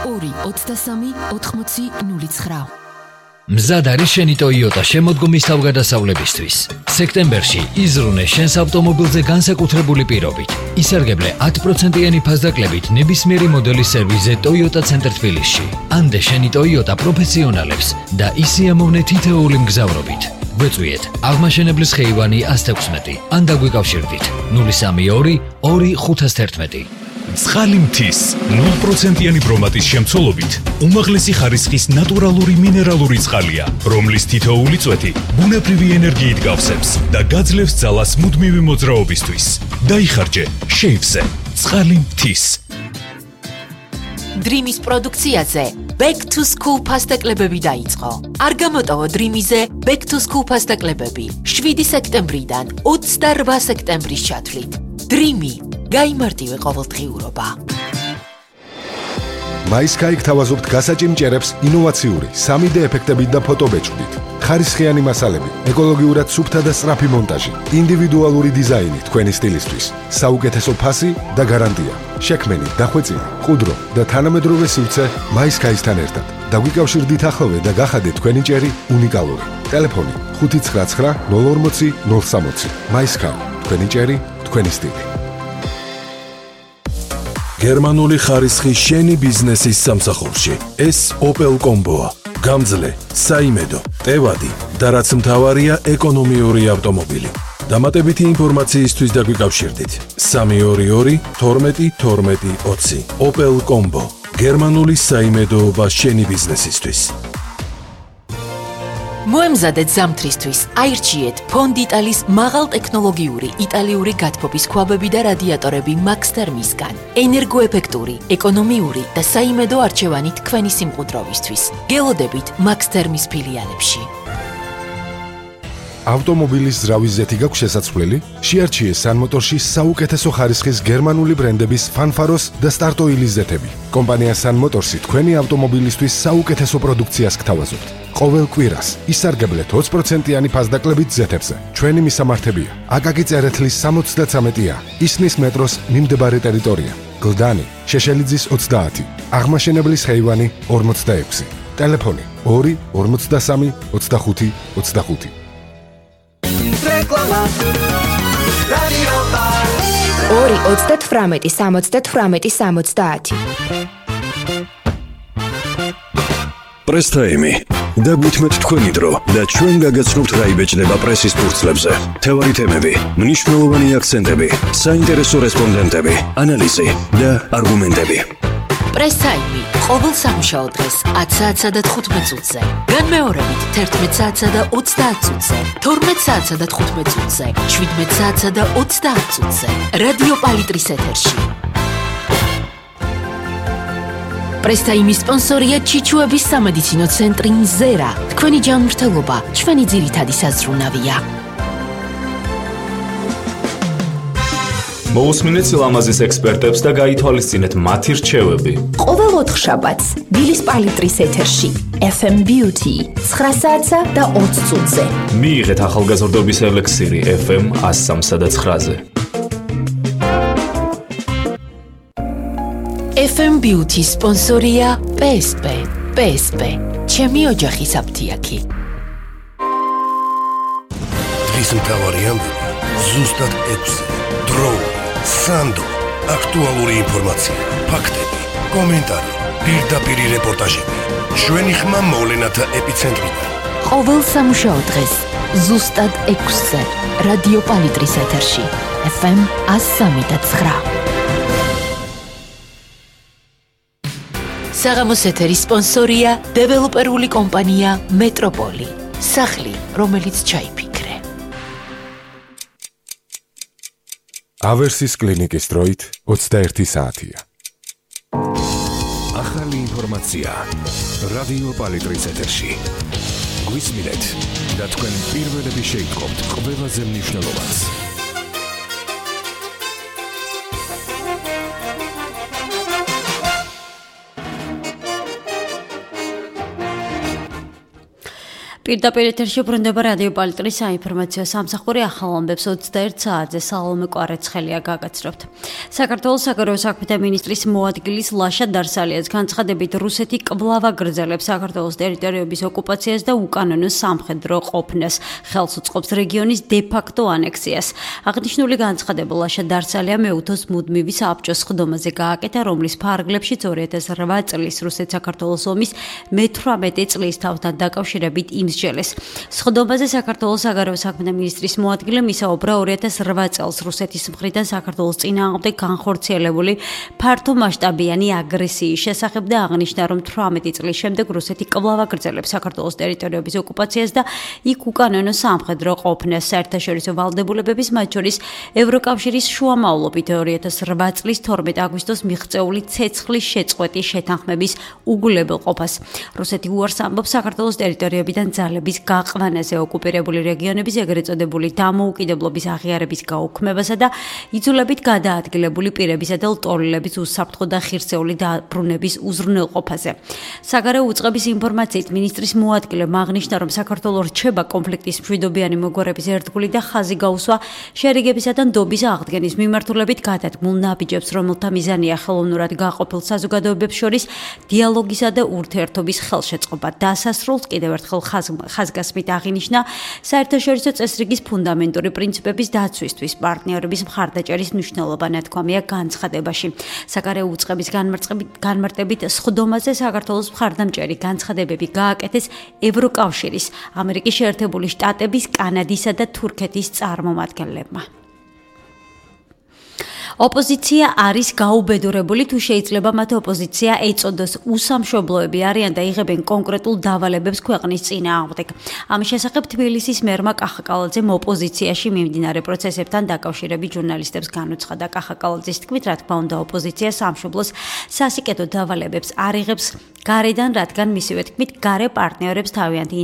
2-23-80-09. მზად არის შენი Toyota შემოდგომის თავგადასავლებისთვის. სექტემბერში იზრუნე შენს ავტომობილზე განსაკუთრებული პირობით. ისარგებლე 10%-იანი ფასდაკლებით ნებისმიერი მოდელის სერვიზზე Toyota ცენტრ თბილისში. ანდე შენი Toyota პროფესიონალებს და ისიამოვნე თითოეული მგზავრობით. გვეწვიეთ აღმაშენებლის ხეივანი 116 ან დაგვიკავშირდით 032 2511. ცხალი მთის 0%-იანი ბრომატის შემცველობით უმაღლესი ხარისხის ნატურალური მინერალური წყალია, რომლის თითოეული წვეთი ბუნებრივი ენერგიით გავსებს და გაძლევს ძალას მუდმივი მოძრაობისთვის. დაიხარჯე შეივზე ცხალი მთის. Dream-ის პროდუქციაზე Back to School ფასდაკლებები დაიწყო. არ გამოტოვო Dream-იზე Back to School ფასდაკლებები 7 სექტემბრიდან 28 სექტემბრის ჩათვლით. Dream-ი გაიმარტივე ყოველდღიურობა. MySky გთავაზობთ გასაჭიმჭერებს ინოვაციური 3D ეფექტებით და ფოტობეჭდით. ხარისხიანი მასალები, ეკოლოგიურად სუფთა და სწრაფი მონტაჟი, ინდივიდუალური დიზაინი თქვენი სტილისთვის, საუკეთესო ფასი და გარანტია. შექმენი, დახვეწილი, ყუდრო და თანამედროვე სივრცე MySky-სთან ერთად. დაგვიკავშირდით ახლოვე და გახადეთ თქვენი ჭერი უნიკალური. ტელეფონი 599 040 060. MySky, თქვენი ჭერი, თქვენი სტილი. გერმანული ხარისხი შენი ბიზნესის სამსახურში. ეს Opel Combo-ა. გამძლე, საიმედო, ტევადი და რაც მთავარია ეკონომიური ავტომობილი. დამატებითი ინფორმაციისთვის დაგვიკავშირდით 322 12 12 20. Opel Combo. გერმანული საიმედოობა შენი ბიზნესისთვის. მოემზადეთ ზამთრისთვის, აირჩიეთ ფონდიტალის მაღალტექნოლოგიური იტალიური გათბობის ქვაბები და რადიატორები Max Therm-ისგან. ენერგოეფექტური, ეკონომიური და საიმედო არჩევანი თქვენი სიმყუდროვისთვის. გელოდებით Max Therm-ის ფილიალებში. ავტომობილის ზრავის ზეთი გაქვს შესაძლებელი? შეარჩიე Sun Motors-ში საუკეთესო ხარისხის გერმანული ბრენდების Fanfaros და Start-Oil-ის ზეთები. კომპანია Sun Motors-ი თქვენი ავტომობილისთვის საუკეთესო პროდუქციას გთავაზობთ. ყოველ კვირას ისარგებლეთ 20%-იანი ფასდაკლებით ზეთებზე. ჩვენი მისამართებია: აკაკი წერეთლის 73-ა, ისნის მეტროს მიმდებარე ტერიტორია, გლდანი, შეშელიძის 30, აღმაშენებლის ხეივანი 46. ტელეფონი 2 53 25 25. რეკლამა რადიო 2 38 70 პრესტაიმი დაგვითმეთ თქვენი დრო და ჩვენ გაგაცნობთ რა იბეჭდება პრესის ფურცლებზე. თევარი თემები, მნიშვნელოვანი აქცენტები, საინტერესო რესპონდენტები, ანალიზი და არგუმენტები. პრესტაიმი ყოველ სამუშაო დღეს 10 საათსა და 15 წუთზე. განმეორებით 11 საათსა და 30 წუთზე, 12 საათსა და 15 წუთზე, 17 საათსა და 30 წუთზე. რადიო პალიტრის ეთერში. პრესტაიმის სპონსორია ჩიჩუების სამედიცინო ცენტრი Zera. თქვენი ჯანმრთელობა ჩვენი ძირითადი საზრუნავია. მოусმინეთ სილამაზის ექსპერტებს და გაითვალისწინეთ მათი რჩევები. ყოველ 4 შაბათს დილის პალიტრის ეთერში FM Beauty 9 საათსა და 20 წუთზე. მიიღეთ ახალგაზრდობის ელექსირი FM 103 და 9-ზე. FM Beauty სპონსორია PSP. PSP. ჩემი ოჯახის აფთიაქი. დღის მთავარი ამბები ზუსტად 6-ზე. დრო, სანდო, აქტუალური ინფორმაცია, ფაქტები, კომენტარი, პირდაპირი რეპორტაჟები. ჩვენი ხმა მოვლენათა ეპიცენტრიდან. ყოველ სამუშაო დღეს ზუსტად 6-ზე. რადიო პალიტრის ეთერში FM 103.9. საღამოს ეთერის სპონსორია დეველოპერული კომპანია მეტროპოლი. სახლი, რომელიც ჩაიფიქრე. ავერსის კლინიკის დროით 21 საათია. ახალი ინფორმაცია რადიო პალიტრის ეთერში. გვისმინეთ და თქვენ პირველები შეიტყობთ ყველაზე მნიშვნელოვანს. პირდაპირ ეთერში ბრუნდება რადიო პალიტრის საინფორმაციო სამსახური ახალ ამბებს 21 საათზე სალომე კვარაცხელია გაგაცნობთ. საქართველოს საგარეო საქმეთა მინისტრის მოადგილის ლაშა დარსალიას განცხადებით რუსეთი კვლავ აგრძელებს საქართველოს ტერიტორიების ოკუპაციას და უკანონო სამხედრო ყოფნას, ხელს უწყობს რეგიონის დე-ფაქტო ანექსიას. აღნიშნული განცხადება ლაშა დარსალია მეუთოს მუდმივი საბჭოს ხდომაზე გააკეთა, რომლის ფარგლებშიც 2008 წლის რუსეთ-საქართველოს ომის მე-18 წლის თავთან დაკავშირებით იმსჯელეს. სხდომაზე საქართველოს საგარეო საქმეთა მინისტრის მოადგილემ ისაუბრა 2008 წელს რუსეთის მხრიდან საქართველოს წინააღმდეგ განხორციელებული ფართომასშტაბიანი აგრესიის შესახებ და აღნიშნა, რომ 18 წლის შემდეგ რუსეთი კვლავ აგრძელებს საქართველოს ტერიტორიების ოკუპაციას და იქ უკანონო სამხედრო ყოფნას. საერთაშორისო ვალდებულებების, მათ შორის ევროკავშირის შუამავლობით 2008 წლის 12 აგვისტოს მიღწეული ცეცხლის შეწყვეტის შეთანხმების უგულებელყოფას. რუსეთი უარს ამბობს საქართველოს ტერიტორიებიდან ძალების გაყვანაზე, ოკუპირებული რეგიონების ეგრეთ წოდებული დამოუკიდებლობის აღიარების გაუქმებასა და იძულებით გადაადგილებული პირებისა და ლტოლვილების უსაფრთხო და ხირცეული დაბრუნების უზრუნველყოფაზე. საგარეო უწყების ინფორმაციით მინისტრის მოადგილემ აღნიშნა, რომ საქართველო რჩება კონფლიქტის მშვიდობიანი მოგვარების ერთგული და ხაზი გაუსვა შერიგებისა და ნდობის აღდგენის მიმართულებით გადადგმულ ნაბიჯებს, რომელთა მიზანია ხელოვნურად გაყოფილ საზოგადოებებს შორის დიალოგისა და ურთიერთობის ხელშეწყობა. დასასრულს კიდევ ერთხელ ხაზგასმით აღინიშნა საერთაშორისო წესრიგის ფუნდამენტური პრინციპების დაცვისთვის პარტნიორების მხარდაჭერის მნიშვნელობა, ნათქვამია განცხადებაში. საგარეო უწყების განმარტებით სხდომაზე საქართველოს მხარდამჭერი განცხადებები გააკეთეს ევროკავშირის, ამერიკის შეერთებული შტატების, კანადისა და თურქეთის წარმომადგენლებმა. ოპოზიცია არის გაუბედურებული, თუ შეიძლება მათ ოპოზიცია ეწოდოს. უსამშობლოები არიან და იღებენ კონკრეტულ დავალებებს ქვეყნის წინააღმდეგ. ამის შესახებ თბილისის მერმა კახაკალაძემ ოპოზიციაში მიმდინარე პროცესებთან დაკავშირებით ჟურნალისტებს განუცხადა. კახაკალაძის თქმით, რა თქმა უნდა, ოპოზიცია სამშობლოს სასიკეთო დავალებებს არ იღებს გარედან, რადგან მისივე თქმით, გარე პარტნიორებს თავიანთი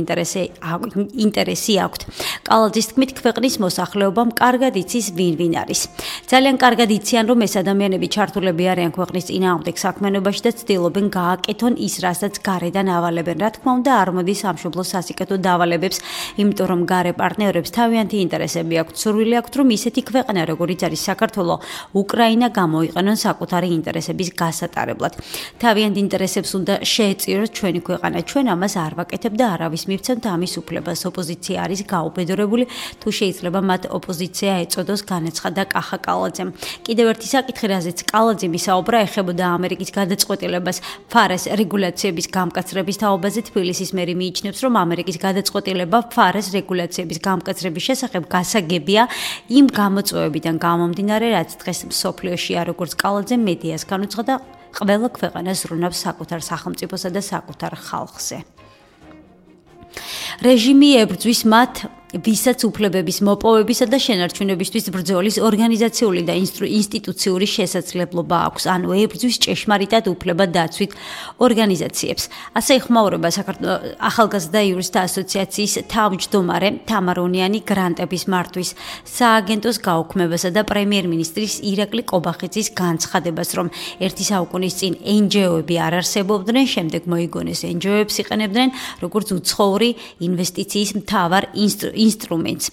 ინტერესი აქვთ. კალაძის თქმით, ქვეყნის მოსახლეობამ კარგად იცის ვინ არის. ძალიან კარგად იციან, რომ ეს ადამიანები ჩართულები არიან ქვეყნის წინააღმდეგ საქმიანობაში და ცდილობენ გააკეთონ ის, რასაც გარედან ავალებენ. რა თქმა უნდა, არ მოდის სამშობლოს სასიკეთო დავალებებს, იმიტომ რომ გარე პარტნიორებს თავიანთი ინტერესები აქვთ. სურვილი აქვთ, რომ ისეთი ქვეყანა, როგორიც არის საქართველო, უკრაინა გამოიყენონ საკუთარი ინტერესების გასატარებლად. თავიანთ ინტერესებს უნდა შეეწიროს ჩვენი ქვეყანა. ჩვენ ამას არ ვაკეთებ და არავის მივცემთ ამის უფლებას. ოპოზიცია არის გაუბედურებული, თუ შეიძლება მათ ოპოზიცია ეწოდოს, განაცხადა კახაკალაძემ. კიდევ ერთი საკითხი, რაზეც კალაძემ ისაუბრა, ეხებოდა ამერიკის გადაწყვეტილებას ფარეს რეგულაციების გამკაცრების თაობაზე. თბილისის მერი მიიჩნევს, რომ ამერიკის გადაწყვეტილება ფარეს რეგულაციების გამკაცრების შესახებ გასაგებია იმ გამოწვევებიდან გამომდინარე, რაც დღეს მსოფლიოშია, როგორც კალაძემ მედიას განუცხადა, ყველა ქვეყანას ზრუნავს საკუთარ სახელმწიფოსა და საკუთარ ხალხზე. რეჟიმი ებრძვის მათ ვისაც უფლებების მოპოვებისა და შენარჩუნებისთვის ბრძოლის ორგანიზაციული და ინსტიტუციური შესაძლებლობა აქვს, ანუ ებრძვის ჭეშმარიტად უფლებადდაცვით ორგანიზაციებს. ასე იხმაურება ახალგაზრდა იურისტთა ასოციაციის თავმჯდომარე თამარ ონიანი გრანტების მართვის სააგენტოს გაუქმებასა და პრემიერ-მინისტრის ირაკლი კობახიძის განცხადებას, რომ ერთი საუკუნის წინ NGO-ები არ არსებობდნენ, შემდეგ მოიგონეს NGO-ებს იყენებდნენ როგორც უცხოური ინვესტიციის მთავარ ინსტრუმენტს.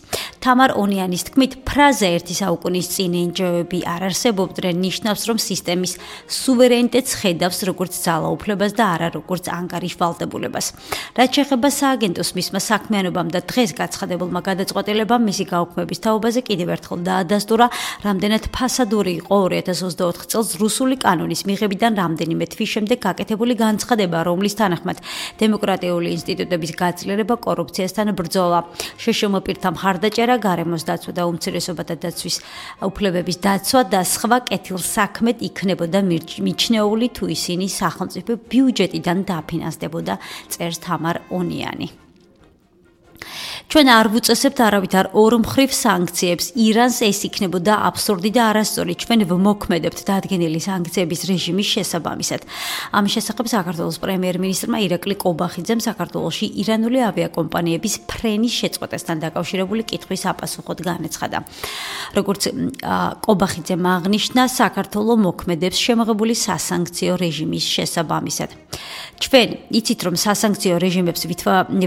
თამარ ონიანის თქმით, ფრაზა ერთი საუკუნის წინ NGO-ები არ არსებობდნენ ნიშნავს, რომ სისტემის სუვერენიტეტს ხედავს როგორც ძალაუფლებას და არა როგორც ანგარიშ ვალდებულებას. რაც შეეხება სააგენტოს მისმა საქმიანობამ და დღეს გაცხადებულმა გადაწყვეტილებამ მისი გაუქმების თაობაზე კიდევ ერთხელ დაადასტურა, რამდენად ფასადური იყო 2024 წელს რუსული კანონის მიღებიდან რამდენიმე თვის შემდეგ გაკეთებული განცხადება, რომლის თანახმად დემოკრატიული ინსტიტუტების გაძლიერება, კორუფციასთან ბრძოლა, შეშმოპირთა მხარდაჭერა, გარემოს დაცვა და უმცირესობათა დაცვის უფლებების დაცვა და სხვა კეთილსაქმედ იქნებოდა მიჩნეული, თუ ისინი სახელმწიფო ბიუჯეტიდან დაფინანსდებოდა, წერს თამარ ონიანი. ჩვენ არ ვუწესებთ არავითარ ორმხრივ სანქციებს. ირანს ეს იქნებოდა აბსურდი და არასწორი. ჩვენ ვმოქმედებთ დადგენილი სანქციების რეჟიმის შესაბამისად. ამის შესახებ საქართველოს პრემიერ-მინისტრმა ირაკლი ყობახიძემ საქართველოში ირანული ავიაკომპანიების ფრენის შეწყვეტასთან დაკავშირებული კითხვის აპასუხოდ განაცხადა. როგორც ყობახიძემ აღნიშნა, საქართველო მოქმედებს შემოღებული სასანქციო რეჟიმის შესაბამისად. ჩვენ იცით, რომ სასანქციო რეჟიმებს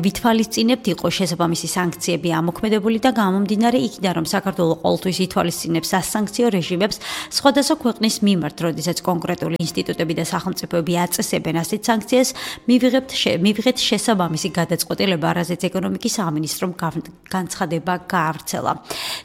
ვითვალისწინებთ, იყო შესაბამისი სანქციები ამოქმედებული და გამომდინარე იქიდან, რომ საქართველო ყოველთვის ითვალისწინებს სასანქციო რეჟიმებს სხვადასხვა ქვეყნის მიმართ, როდესაც კონკრეტული ინსტიტუტები და სახელმწიფოები აწესებენ ასეთ სანქციას, მივიღეთ შესაბამისი გადაწყვეტილება, რაზეც ეკონომიკის სამინისტრომ განცხადება გაავრცელა.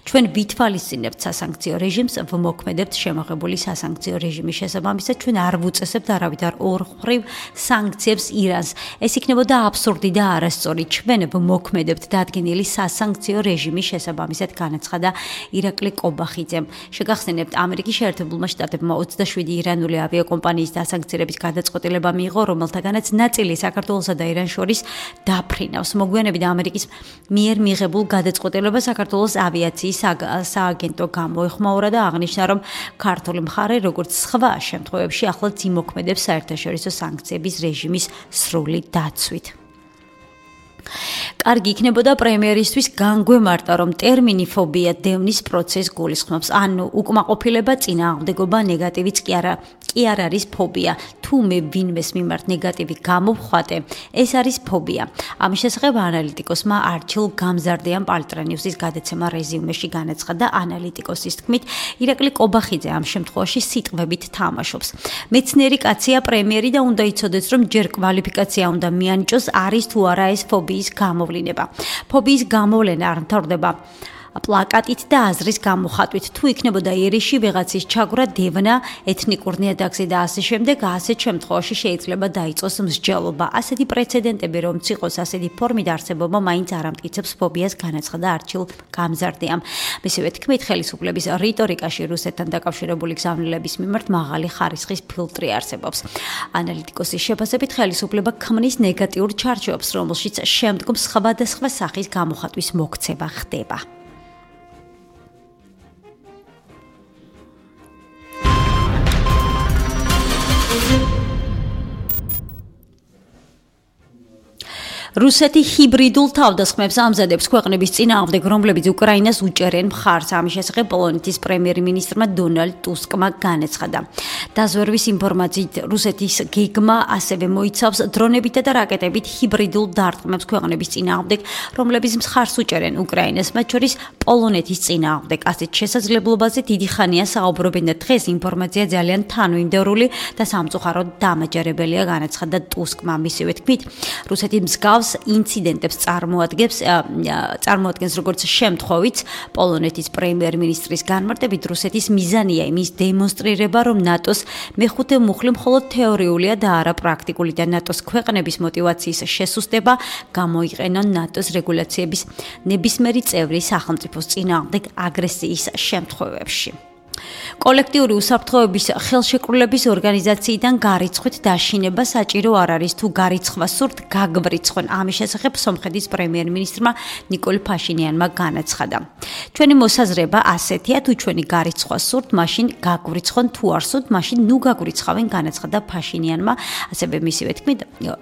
ჩვენ ვითვალისწინებთ სასანქციო რეჟიმს, ვმოქმედებთ შემოღებული სასანქციო რეჟიმის შესაბამისად, ჩვენ არ ვუწესებთ არავითარ ორმხრივ სანქციებს ირანს. ეს იქნებოდა აბსურდი და არასწორი. ჩვენ ვმოქმედებთ დადგენილი სასანქციო რეჟიმის შესაბამისად განაცხადა ირაკლი ყობახიძემ. შეგახსენებთ, ამერიკის შეერთებულმა შტატებმა 27 ირანული ავიაკომპანიის დასანქცირების გადაწყვეტილება მიიღო, რომელთაგანაც ნაწილი საქართველოსა და ირანს შორის დაფრინავს. მოგვიანებით ამერიკის მიერ მიღებულ გადაწყვეტილებას საქართველოს ავიაციის სააგენტო გამოეხმაურა და აღნიშნა, რომ ქართული მხარე, როგორც სხვა შემთხვევებში, ახლაც იმოქმედებს საერთაშორისო სანქციების რეჟიმის სრული დაცვით. კარგი იქნებოდა პრემიერისთვის განგვემარტა, რომ ტერმინი ფობია დევნის პროცესს გულისხმობს. ანუ უკმაყოფილება, წინააღმდეგობა, ნეგატივიც კი არ არის ფობია. თუ მე ვინმეს მიმართ ნეგატივი გამოვხატე, ეს არის ფობია. ამის შესახებ ანალიტიკოსმა არჩილ გამზარდეამ პალტრანიუსის გადაცემა რეზიუმეში განაცხადა. ანალიტიკოსის თქმით, ირაკლი ყობახიძე ამ შემთხვევაში სიტყვებით თამაშობს. მეცნიერი კაცია პრემიერი და უნდა იცოდეს, რომ ჯერ კვალიფიკაცია უნდა მიანიჭოს, არის თუ არა ეს ფობიის გამოვლინება. ფობიის გამოვლენა არ მთავრდება პლაკატით და აზრის გამოხატვით. თუ იქნებოდა ერიში ვიღაცის ჩაგვრა, დევნა, ეთნიკურ ნიადაგზე და ასე შემდეგ, ასეთ შემთხვევაში შეიძლება დაიწყოს მსჯელობა. ასეთი პრეცედენტები რომც იყოს, ასეთი ფორმით არსებობა მაინც არ ამტკიცებს ფობიას, განაცხადა არჩილ გამზარდეამ. მისივე თქმით, ხელისუფლების რიტორიკაში რუსეთთან დაკავშირებული გზავნილების მიმართ მაღალი ხარისხის ფილტრი არსებობს. ანალიტიკოსის შეფასებით, ხელისუფლება ქმნის ნეგატიურ ჩარჩოებს, რომელშიც შემდგომ სხვადასხვა სახის გამოხატვის მოქცევა ხდება. რუსეთი ჰიბრიდულ თავდასხმებს ამზადებს ქვეყნების წინააღმდეგ, რომლებიც უკრაინას უჭერენ მხარს. ამის შესახებ პოლონეთის პრემიერ-მინისტრმა დონალდ ტუსკმა განაცხადა. დაზვერვის ინფორმაციით, რუსეთის გეგმა ასევე მოიცავს დრონებითა და რაკეტებით ჰიბრიდულ დარტყმებს ქვეყნების წინააღმდეგ, რომლებიც მხარს უჭერენ უკრაინას, მათ შორის პოლონეთის წინააღმდეგ. ასეთ შესაძლებლობაზე დიდი ხანია საუბრობენ და დღეს ინფორმაცია ძალიან თანმიმდევრული და სამწუხაროდ დამაჯერებელია, განაცხადა ტუსკმა. მისივე თქმით, რუსეთი მსგავს ინციდენტებს წარმოადგენს როგორც შემთხვევით პოლონეთის პრემიერ-მინისტრის განმარტებით, რუსეთის მიზანია იმის დემონსტრირება, რომ ნატოს მეხუთე მუხლი მხოლოდ თეორიულია და არა პრაქტიკული და ნატოს ქვეყნების мотиваციის შესუსტება გამოიყენონ ნატოს რეგულაციების ნებისმიერი წევრი სახელმწიფოს წინააღმდეგ აგრესიის შემთხვევებში. კოლექტიური უსაფრთხოების ხელშეკრულების ორგანიზაციიდან გარიცხვით დაშინება საჭირო არ არის, თუ გარიცხვა სურთ, გაგვრიცხონ. ამის შესახებ სომხეთის პრემიერ-მინისტრმა ნიკოლ ფაშინიანმა განაცხადა. ჩვენი მოსაზრება ასეთია, თუ ჩვენი გარიცხვა სურთ, მაშინ გაგვრიცხონ, თუ არ სურთ, მაშინ ნუ გაგვრიცხავენ, განაცხადა ფაშინიანმა. ასევე მისივე თქმით,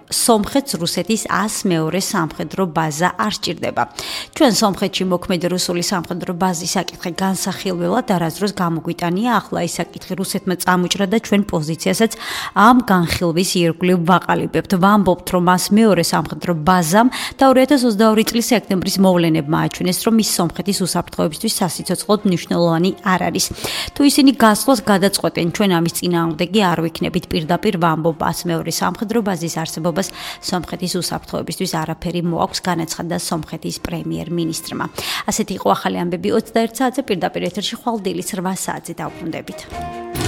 სომხეთს რუსეთის 100-მეორე სამხედრო ბაზა არ სჭირდება. ჩვენ სომხეთში მოქმედი რუსული სამხედრო ბაზის საკითხი განსახილველად არასდროს გამოგვიტანია. ახლა ის საკითხი რუსეთმა წამოჭრა და ჩვენ პოზიციასაც ამ განხილვის ირგვლივ ვაყალიბებთ. ვამბობთ, რომ 100-მეორე სამხედრო ბაზამ და 2022 წლის სექტემბრის მოვლენებმა აჩვენეს, რომ ის სომხეთის უსაფრთხოებისთვის სასიცოცხლოდ მნიშვნელოვანი არ არის. თუ ისინი გასვლას გადაწყვეტენ, ჩვენ ამის წინააღმდეგი არ ვიქნებით. პირდაპირ ვამბობ 100-მეორე სამხედრო ბაზის არსებობას სომხეთის უსაფრთხოებისთვის არაფერი მოაქვს, განაცხადა სომხეთის პრემიერ-მინისტრმა. ასეთი იყო ახალი ამბები 21 საათზე, პირდაპირ ეთერში ხვალ დილის 8 საათზე დავბრუნდებით.